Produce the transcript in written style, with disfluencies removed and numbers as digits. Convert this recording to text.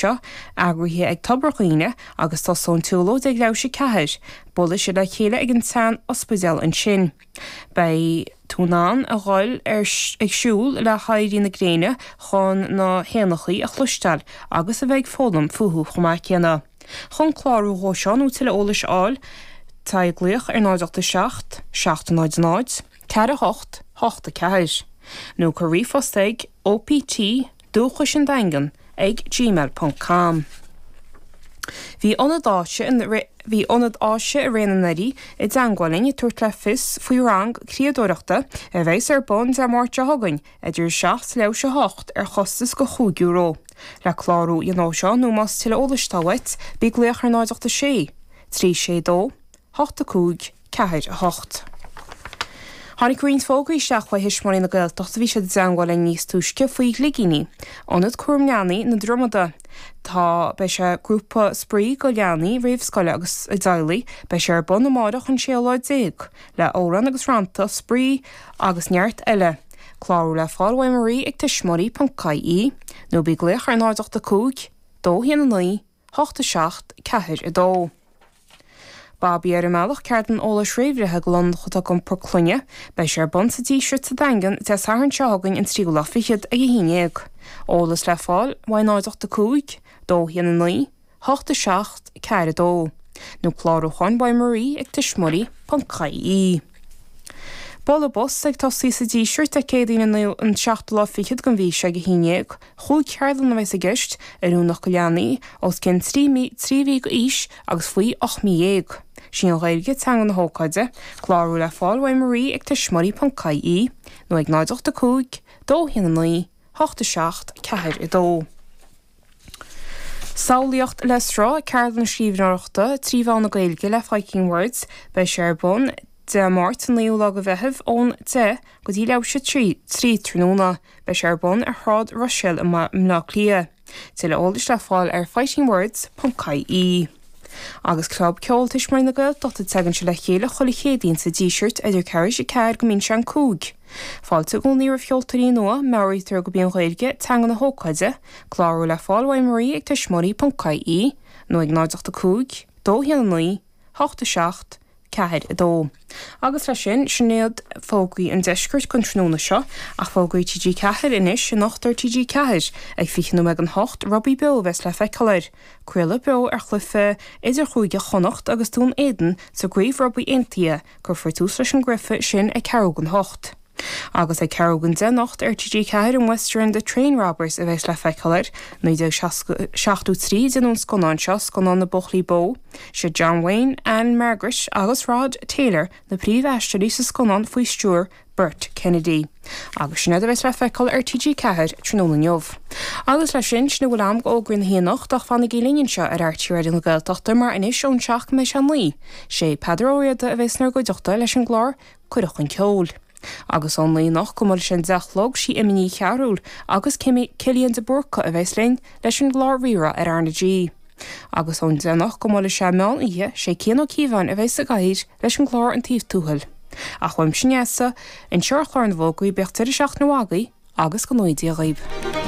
Seo eagraithe ag Tobar Dhuibhne agus tosóidh an tsiúlóid ag leathuair théis a 4. Buailfidh siad le chéile ag an tsean ospidéal ansin. Beidh tú in ann a dhul ar ag siúl le héirí na gréine chun na héanachaí a chloisteáil agus a bheith ag foghlaim fúthu chomh maith céanna. Chun clárú dhó seo nó tuilleadh eolais a fháil, téigh ag glaoch ar 0 8 7 7 0 0 4 8 8 4 nó cuir ríomhphost ag OPT Dúchais an Daingean ag gmail ponc com. Bhí Ionad Áise Bhí Ionad Áise i Ré na nDoirí i dteangmháil linn ag tabhairt le fios faoi rang criadóireachta a bheas ar bun Dé Máirt seo chugainn idir 7 's leathuair théis a 8 ar chostas de €5. Le clárú a dhéanamh seo nó más tuilleadh eolais atá uait, bí ag glaoch ar 0 8 6 3 6 2 8 5 4 8. Tháinig roinnt fógraí isteach uaidh Thuismitheoirí na Gaeltachta, bhí siad i dteangmháil linn níos túisce faoi Ghligíní, Ionad Cúram Leanaí na Dromada. Tá, beidh sé, grúpa spraoi go leanaí roimh scoile agus a dteaghlaigh, beidh sé ar bun amáireach an séú lá déag, le amhráin agus rannta, spraoi agus neart eile. Clárú le fáil uaidh Marie ag tuismitheoirí.ie nó bí ag glaoch ar 0 8 5 2 1 9 8 7 4 2. Babaí ar an mBealach, ceardlann eolais réamhbhreithe go londach atá ag iompar clainne. Beidh sé ar bun sa Díseart sa Daingean Dé Sathairn seo chugainn an tríú lá fichead ag 11. Eolas le fáil uaidh 0 8 5 2 1 9 8 7 4 2 nó clárúcháin uaidh Marie ag tuismitheoirí.ie. Bualadh bos ag tosaí sa Díseart Dé Céadaoin an naoú an seachtú lá fichead den mhí seo ag 11. Chúig cheardlann a bheas i gceist, oiriúnach go leanaí os cionn 3 mí 3 mhí d'aois agus faoi 18 mí. Sí an Ghaeilge teanga na hócáide. Clárú le fáil uaidh Marie ag tuismitheoirí.ie nó ag 0 8 5 2 1 9 8 7 4 2. Samhlaíocht le Sruth, ceardlann scríbhneoireachta 3 mheán na Gaeilge le Fighting Words. Beidh sé ar bun Dé Máirt an 9ú lá de Mheitheamh ón 10 go dtí leathuair théis a 3 tráthnóna. Beidh sé ar bun ar Shráid Ruiséal i mBleá Cliath. Tuilleadh eolais le fáil ar fightingwords.ie. Agus Club Ceoil Tuismitheoirí na Gaeltachta tagann sé le chéile chuile Chéadaoin sa Díseart idir ceathrú théis a 4 go mbíonn sé an 5. Fáilte i gcónaí roimh cheoltóirí nua, meabhraítear gurb í an Ghaeilge teanga na hócáide, clárú le fáil uaidh Marie ag tuismitheoirí.ie nó ag 0 8 5 2 1 9 8 7 4 2. Agus leis sin, sin iad fógraí an deiscirt don tráthnóna seo, ach fógraí TG4 anois, anocht ar TG4, ag 20 nóiméad don hocht, Rugbaí Beo a bheas le feiceáil air. Craoladh beo ar chluiche idirchúige Chonnacht agus Dún Éideann sa gCraobh Rugbaí Aontaithe, cuirfear tús leis an gcluiche sin ag ceathrú don hocht. Agus ag ceathrú don 10 anocht ar TG4 an Western The Train Robbers a bheas le feiceáil air. 1973 a déanadh an scannán seo, scannán na buachaillí bó. Siad John Wayne, Ann-Margret agus Rod Taylor na príomh-aisteoirí sa scannán faoi stiúir Burt Kennedy. Agus sin iad a bheas le feiceáil ar TG4 tráthnóna inniu. Agus leis sin, sin a bhfuil a'm d'fhógraí na hoíche anocht ach fanaigí linn anseo ar RTÉ Raidió na Gaeltachta mar anois ón seacht go mbeidh sé a naoi, sé Peadar Ó Riada a bheas inár gcuideachta leis an gclár Cuireadh chun Ceoil. Agus ón naoi anocht go mbuailfidh sé an 10 a chlog, sí Emma Ní Chearúil agus Cillian de Búrca a bheas linn leis an gclár Rí-Rá ar R na G. Agus ón 10 anocht go mbuailfidh sé meán oíche, sé Cian Ó Cíobháin a bheas sa gcathaoir leis an gclár An Taobh Tuathail. Ach uaimse Neasa, anseo ar chlár na bhfógraí, bíodh deireadh seachtaine mhaith agaibh agus go ngnóthaí Dia dhaoibh.